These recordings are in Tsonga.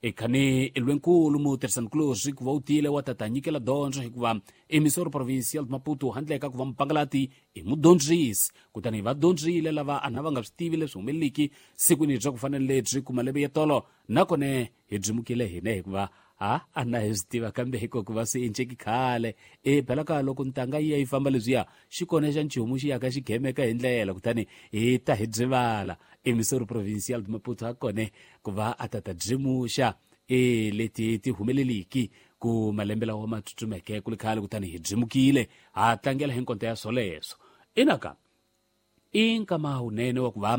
Ekhani lwenkulu mutirhisanikulorhi ku va u tile wa tata nyikela dyondzo hikuva emissor provincial de Maputo handle ka ku va mupangalati i mudyondzisi. Kutani va dyondzile lava ana va nga swi tivi leswi humeleliki sikwini bya ku fana ni lebyi ku malembe ya tolo, nakone hi byimukile hina hikuva a ana hi swi tiva kambe hiko ku va swi enceki khale. E phela ka loko ntanga yi ya yi famba leswiya xi kona xa nchumu xi yaka xi gemeka hi ndlela, kutani hi ta hi byivala. Emissor provincial de Maputo a kone ku va a ta ta byimuxa e leti ti humeleliki ku malembe lawa ma tsutsumeke ku li khale, kutani hi byimukile ha tlangela hi nkonto ya swoleswo. Inaka i nkama wunene wa ku va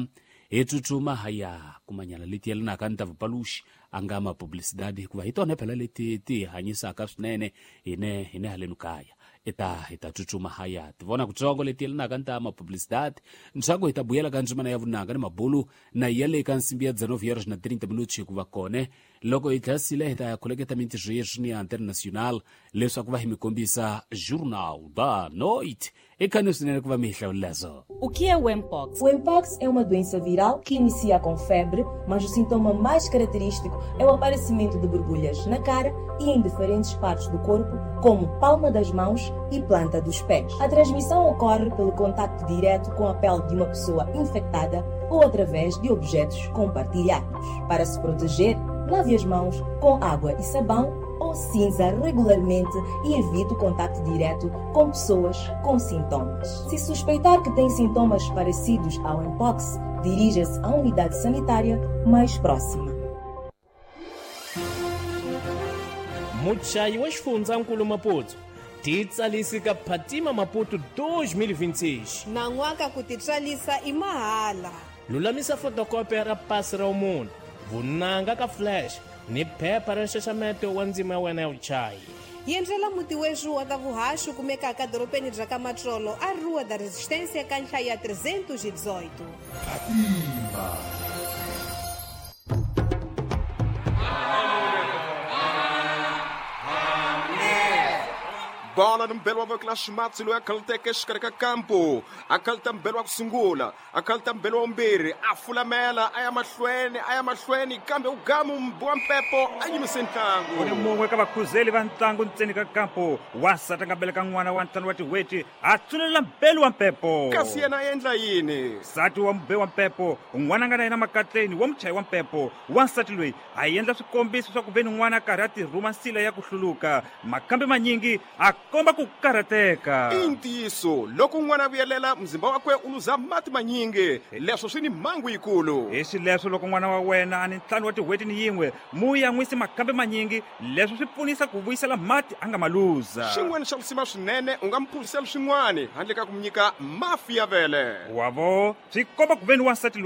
hi tsutsuma ha ya kumanyana leti yelanaka ni ta vupaluxi a nga ma publicidade, hikuva hi tona phela leti ti hanyisaka swinene hine halenu kaya. Hi ta tsutsuma ha ya ti vona kutsongo leti yelanaka ni ta ma publicidade, ntshaku hi ta buyela ka ndzimana ya vunanga ni mabulu na ya le ka nsimbi ya 19 horas na 30 minutos, hikuva kone loko hi tlhasile hi ta ya khuleketa mintirho yeswi ni ya international leswaku va hi mi kombisa Journal da Noite. E khani swinene ku va mi hi hlawulela so. O que é o Mpox? O Mpox é uma doença viral que inicia com febre, mas o sintoma mais característico é o aparecimento de borbulhas na cara e em diferentes partes do corpo, como palma das mãos e planta dos pés. A transmissão ocorre pelo contacto direto com a pele de uma pessoa infectada ou através de objetos compartilhados. Para se proteger, lave as mãos com água e sabão ou cinza regularmente e evite o contacto direto com pessoas com sintomas. Se suspeitar que tem sintomas parecidos ao Mpox, dirija-se à unidade sanitária mais próxima. Muchayi wa xifundzankulu Maputo, titsalisi ka Phatima Maputo 2026. Nan'waka ku titswalisa i mahala. Lulamisa fotokopi ra pasi ra munhu, vunanga ka flash ni phepha ra nxaxameto wa ndzima ya wena ya vuchayi. Yendlela muti wexu wa ta vuhaxi kumekaka dorobeni bya ka Matsolo, a Rua da Resistência, ka nhlaya 318. Fatima. Bola ni mbelo wa voko la ximatsi loyi a khaluteke exikarhi ka kampo, a khaluta mbelo wa ku sungula, a khaluta mbelo wa vumbirhi, a fulamela a ya mahlweni, a ya mahlweni, kambe u gamu wa mpepo a yimise ntlangu. U ni mun'we ka vakhuzeli va ntlangu ntseni ka kampo, wansati a nga beleka n'wana wa 5 wa tin'hweti, a tsunelela mbelu wa mpepo. Kasi yena a endla yini? Nsati wa mube wa mpepo, n'wana a nga na yena makatleni wa muchayi wa mpepo. Wansati loyi a endla swikombiso swa ku ve ni n'wana a karhi a tirhuma nsila ya ku hluluka, makambe manyingi a komba ku karhateka. I ntiyiso, loko n'wana a vuyelela muzimba wakwe u luza mati manyingi, leswo swi ni mhangu yikulu. Hi xileswo loko n'wana wa wena a ni 5 wa tin'hweti ni yin'we, mu yan'wisi makambe manyingi, leswo swi pfunisa ku vuyisela mati a nga ma luza. Xin'wana xa lisima swinene, u nga mu phuzisela swin'wana handle ka ku mu nyika mafi ya vele. Wavo swi komba ku ve ni wansati loyi